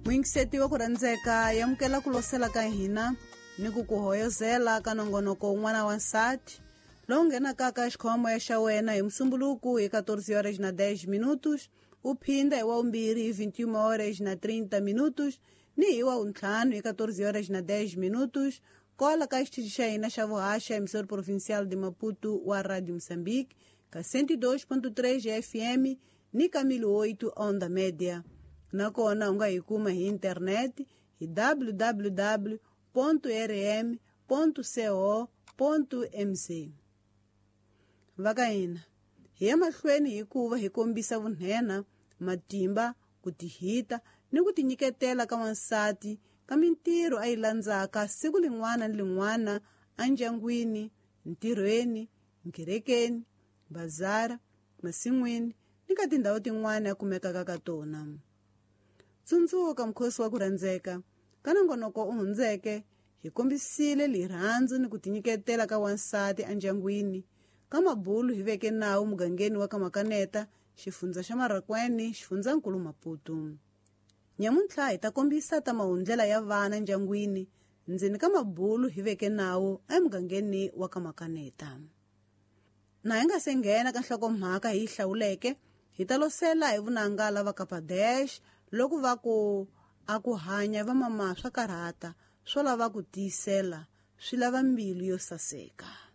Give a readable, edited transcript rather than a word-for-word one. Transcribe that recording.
Muyingiseti wa ku rhandzeka, yamukela ku losela ka hina ni ku ku hoyozela ka nongonoko wun'wana wa nsati lowu nghenaka ka xikhomoya xa wena hi Musumbuluku hi 14 horas na 10 minutos, u phinda hi wa vumbirhi hi 21 horas na 30 minutos, ni hi wa vuntlhanu hi 14 horas na 10 minutos, kola ka xitichi xa hina xa vuhaxa, emissora provincial de Maputo wa Radio Moçambique, ka 102.3 FM ni ka 1008 onda média. Nakona u nga hi kuma hi internet hi www rm co mz. Va ka hina hi ya mahlweni hikuva hi kombisa vunhena, matimba, ku tihita ni ku tinyiketela ka wansati ka mintirho a yi landzaka siku lin'wana ni lin'wana endyangwini, ntirhweni, nkerekeni, bazara, masin'wini ni ka tindhawu tin'wana a kumekaka ka tona. Tsundzuka mukhosi wa ku rhandzeka, ka nongonoko u hundzeke hi kombisile lirhandzu ni ku tinyiketela ka wansati endyangwini. Ka mabulu hi veke nawu mugangeni wa ka Makaneta, xifundza xa Marracuene, xifundzankulu Maputo. Nyamuntlha hi ta kombisa ta mahundlela ya vana ndyangwini, ndzeni ka mabulu hi veke nawu emugangeni wa ka Makaneta. Na hi nga se nghena ka nhlokomhaka hi yi hlawuleke, hi ta losela hi vunanga lava Kapadesh loko va ku a ku hanya vamama swa karhata, swo lava ku tiyisela, swi lava mbilu yo saseka.